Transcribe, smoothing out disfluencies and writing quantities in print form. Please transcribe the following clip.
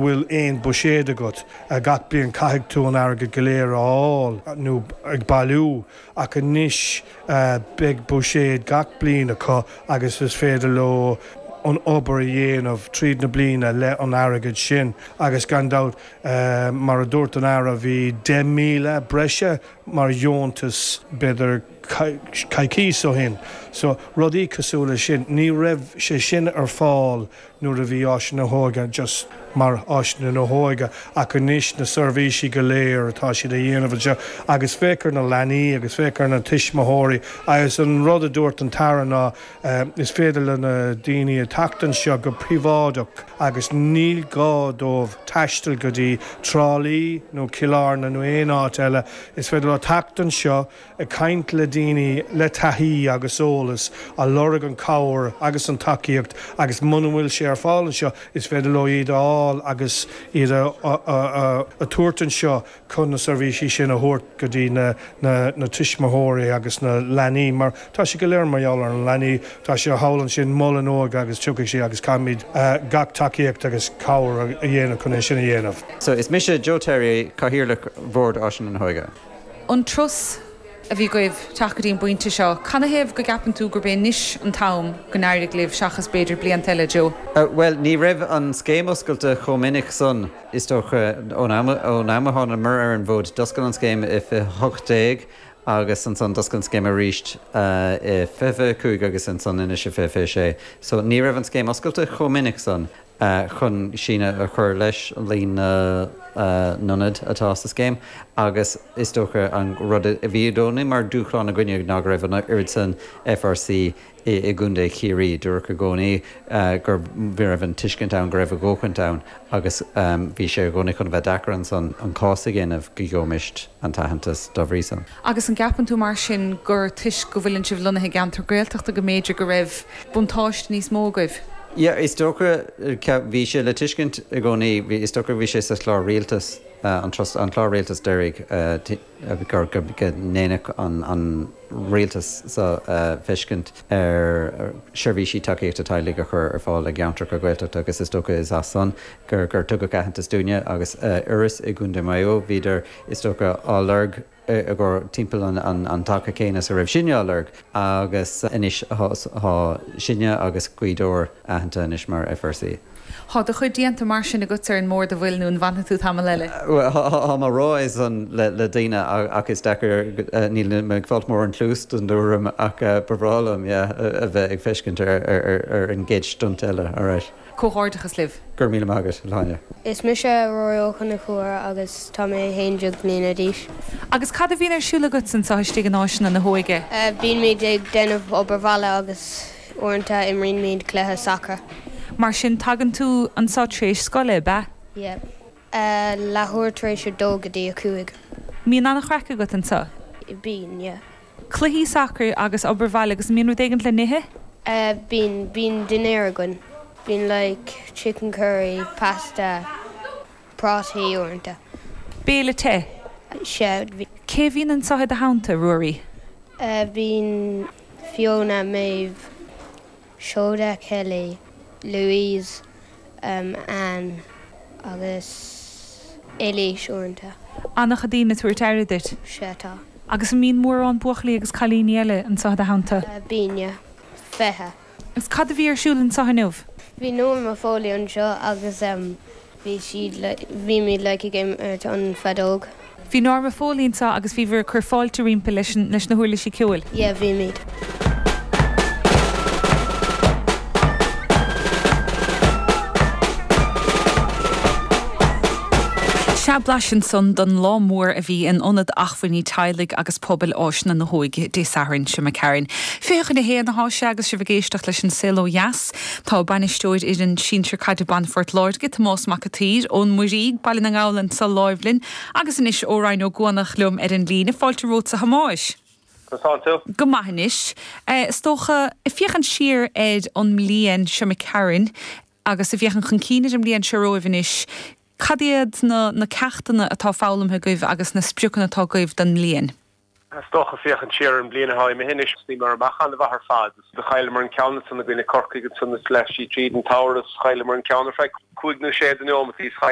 Bhfuil aon buiséad agat. Gach bliain caithfidh tú an airgead go léir a fháil nó ag bailiú ach anois beidh buiséad gach bliain acu agus is féidir leo an obair a dhéanamh tríd na bliana le an airgead sin agus gan dabht mar a dúirt an Aire bhí 10,000 breise mar dheontas b'fhéidir coicís ó shin so rudaí cosúil le sin ní raibh sé sin ar fáil nuair a bhí Áiseanna na hÓige just mar Áiseanna na hÓige ach anois na seirbhísí go léir atá siad a dhéanamh anseo agus féach ar na leanaí agus féach ar na tuismitheoirí agus an rud a dúirt an tAire ná is féidir le na daoine a teacht anseo go príobháideach agus níl gá dóibh taisteal go dtí Trá Lí nó Cill Airne nó aon áit eile is féidir leo teacht anseo ag caint le daoine le taithí agus eolas, a lorg an cabhair agus an tacaíocht agus muna bhfuil sé ar fáil anseo, is féidir leo iad a fháil agus iad a a tabhairt anseo chun na seirbhísí sin a thabhairt go dtí na na tuismitheoirí agus na leanaí mar tá sé go léir mar gheall ar na leanaí, tá sé thall ansin Mol an Óige agus tiocfaidh sé agus caithfimid gach tacaíocht agus cabhair a dhéanamh chun é sin a dhéanamh. So is mise Joe Terry, Cathaoirleach Bhord Áiseanna na hÓige. An turas a bhí agaibh teacht go dtí an bpointe seo, canathaobh go gceapann tú gurb é anois an t-am go n-éirigh libh seachas b'fhéidir blianta eile, Joe? Bhuel, ní raibh an scéim oscailte chomh minic san, is dócha, ón am a thánamar ar an bhfód. D'oscail an scéim i 2018 agus ansan d'oscail an scéim arís i 2025 agus ansan anois i 2026. So ní raibh an scéim oscailte chomh minic san. chun síneadh a chur leis líon na n-ionad atá sa scéim agus is dócha an rud a bhí i gcónaí mar dúshlán againne ná go raibh an oiread san FRC i gContae Chiarraí. Dúradh i gcónaí go raibh an tuiscint ann go raibh a ndóthain ann agus bhí sé i gcónaí chun a bheith deacair ansan an cás a dhéanamh go gheobhaimis an t-aitheantas dá bhrí san. Agus an gceapann tú mar sin gur toisc go bhfuileann sibh lonnaithe i gceantar Gaeltachta go mb'fhéidir go raibh buntáiste níos mó agaibh? Yeah, is dócha, bhí sé le tuiscint i gcónaí, bhí, is dócha bhí sé sa chlár rialtais, an trust, an clár rialtais deiridh, gur, go ndéanfadh an, an rialtas so feiscint ar seirbhísí tacaíochta teaghlaigh a chur ar fáil i gceantracha Gaeltachta agus is dócha is as san gur, gur tugadh aitheantas dúinne agus Iorras i gContae Mhaigh Eo, bhíodar, is dócha, á lorg. i gcomhair timpeall an taca céanna is a raibh sinne á lorg agus anois tá sinne agus Gaoth Dobhair aitheanta anois mar FRC. Tá do chuid déanta mar sin agat ar an mbord, an bhfuil, nó an bhfanfaidh tú tamall eile? Bhuel, táim á rá é san le daoine ach is deacair, níl mé ag fáilt mórán cluas don dtuairim ach ba bhreá liom, yeah, a bheith ag feiscint ar an gcéad stunt eile, alright. Comhghairdeachas libh. Go raibh míle maith agat, a Shláine. Is mise Rory Ó Conchúir agus tá mé 11 mbliana d'aois. Agus cad a bhíonn ar siúl agat anseo istigh in Áiseanna na hÓige? Bímid ag déanamh obair bhaile agus uaireanta imrímid cluiche sacair. Mar sin tagann tú anseo tar éis scoile, ab ea? Yeah. Leathuair tar éis a dó go dtí a cúig. Mbíonn an-chraic agat anseo? Bíonn, yeah. Cluichí sacair agus obair bhaile agus an mbíonn rud éigint le n-ithe? Bíonn, bíonn dinnéar againn. Bíonn like chicken curry, pasta, prátaí uaireanta. Béile te? Sea. Cé a bhíonn anseo i do theannta, Ruairí? Bíonn Fiona, Maeve, Seoda, Kelly, Louise, Anne agus Eilís uaireanta. An-chuid daoine ag tabhairt aire duit. Sea, tá. Agus an mbíonn mórán buachaillí agus cailíní eile anseo i do theannta? Bíonn, yeah. 20. Agus cad a bhí ar siúl anseo inniu? Bhí Norma Foley anseo agus bhí siad like, bhímid like ag imirt an feadóg. Bhí Norma Foley anseo agus bhíobhair ag cur fáilte roimpi leis an, leis na huirlisí ceoil? Yeah, bhímid. Sea, blaiseadh ansan don lá mór a bhí in Ionad Acmhainní Teaghlaigh agus Pobail Áiseanna na hÓige Dé Sathairn seo imigh tharainn. 12:40 atá sé agus sibh ag éisteacht leis An Saol Ó Dheas. Tá bainisteoir fhoireann sinsir caide ban Phort Láirge, Tomás Mac a' tSaoir, ón Muirígh, Baile na nGall anso láimh linn agus anois ó Rinn Ó gCuanach liom ar an líne. Fáilte romhat a Thomáis. Conas tánn tú? Go maith anois. Is dócha, ag féachaint siar ar an mbliain seo imigh tharainn agus ag féachaint chun cinn ar an mbliain seo romhaibh anois, cad iad na na ceachtanna atá foghlamtha agaibh agus na spriocanna atá agaibh don mbliain? Is dócha féachaint siar ar an mbliain atá imithe anois, bhíomar amach an-mhaith ar fad. Do chailleamar an ceann ansan i gcoinne Corcaigh ansan is leath sí tríd an tsamhradh is chailleamar an ceann ar feadh cúig nó sé de neomataí is chaill.